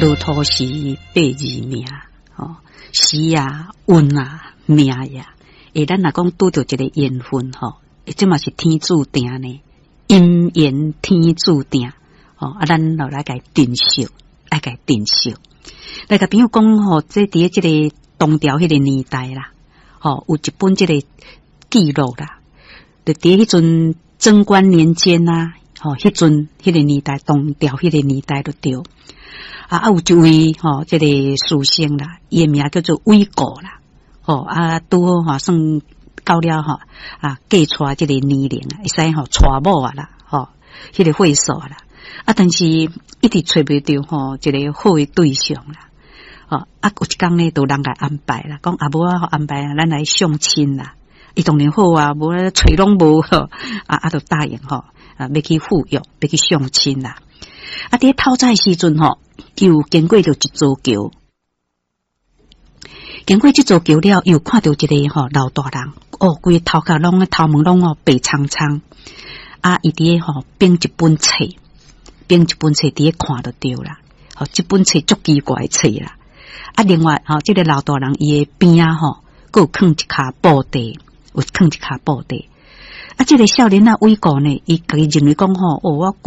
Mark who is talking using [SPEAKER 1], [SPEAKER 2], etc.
[SPEAKER 1] 落土時八字命，吼，時啊運啊命呀。欸，咱若講拄著一個緣分吼，這嘛是天注定呢，姻緣天注定，吼啊，咱就來共珍惜，愛共珍惜。來共朋友講吼，這佇這个唐朝彼个年代啦，吼，有一本這个記錄啦，就佇彼陣貞觀年間啊，吼，彼陣彼个年代，唐朝彼個年代就對。啊，有一位吼，這个書生啦，伊的名叫做韋固啦，吼啊，拄好吼算到了吼啊嫁娶這个年齡啊，會使吼娶某啊啦，吼，彼个歲數啦，啊，但是一直揣袂著吼一个好的對象啦，吼啊，有一工呢，就人共安排啦，講啊無啊，安排啊，咱來相親啦。伊當然好啊，無揣攏無好，啊啊，就答應吼，啊，欲去赴約，欲去相親啦。啊，佇透早的時陣吼，又經過著一座橋，經過這座橋了，又看著一个吼老大人，哦，規个頭殼攏頭毛攏哦白蒼蒼，啊，伊佇咧吼編一本冊，編一本冊佇咧看就對啦。吼，這本冊足奇怪冊啦。啊，另外吼，這个老大人伊的邊仔吼，閣有囥一跤布袋，有囥一跤布袋。啊，這个少年仔韋固呢，伊家己認為講吼，哦，我。